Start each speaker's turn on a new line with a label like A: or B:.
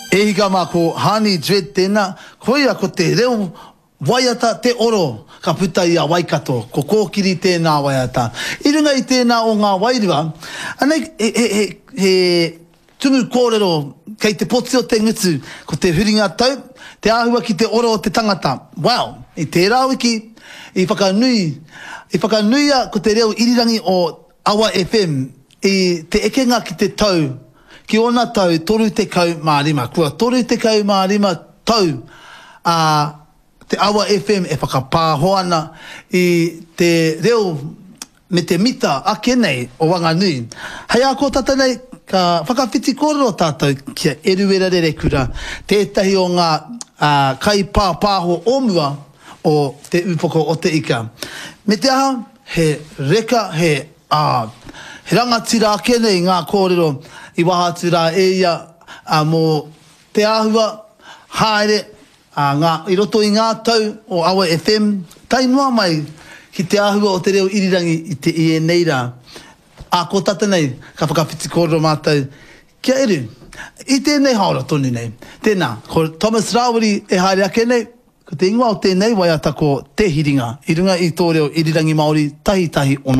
A: E hika mā, ko Hani Dread tēnā, koia ko te reo waiata te oro ka puta i a Waikato, ko Kōkiri tēnā waiata. I runga i tēnā o ngā wairua, anei he, he, he, he tumu kōrero kei te poti o te ngutu, ko te huringa tau, te āhua ki te oro o te tangata. Well, i tērā wiki, i whakanui, i whakanuia ko te reo irirangi o Awa FM i te ekenga ki te tau, ki ōna tau 35. Kua 35 tau a Te Awa FM e whakapāho ana i te reo me te mita ake nei o Wanganui. Hei ā kō tata nei, ka whakawhiti kōrero tātou ki a Eruera Rerekura, tētahi o ngā kaipāpāho o mua o Te Ūpoko o Te Ika. Me te aha, He reka, he, ā, he rangatira ake nei ngā kōrero i waha atu rā e ia, ā, mō te āhua haere, ā, ngā, i roto i ngā tau o Awa FM, tae noa mai ki te āhua o te reo irirangi i te, i ēnei rā. Ā, ko tata nei, ka whakawhiti kōrero mātou ki a Eru. I tēnei haora tonu nei. Tēnā, ko Thomas Rāwiri e haere ake nei, Ko te ingoa o tēnei waiata ko Te Hiringa, i runga i tō reo irirangi Māori 1 1 6.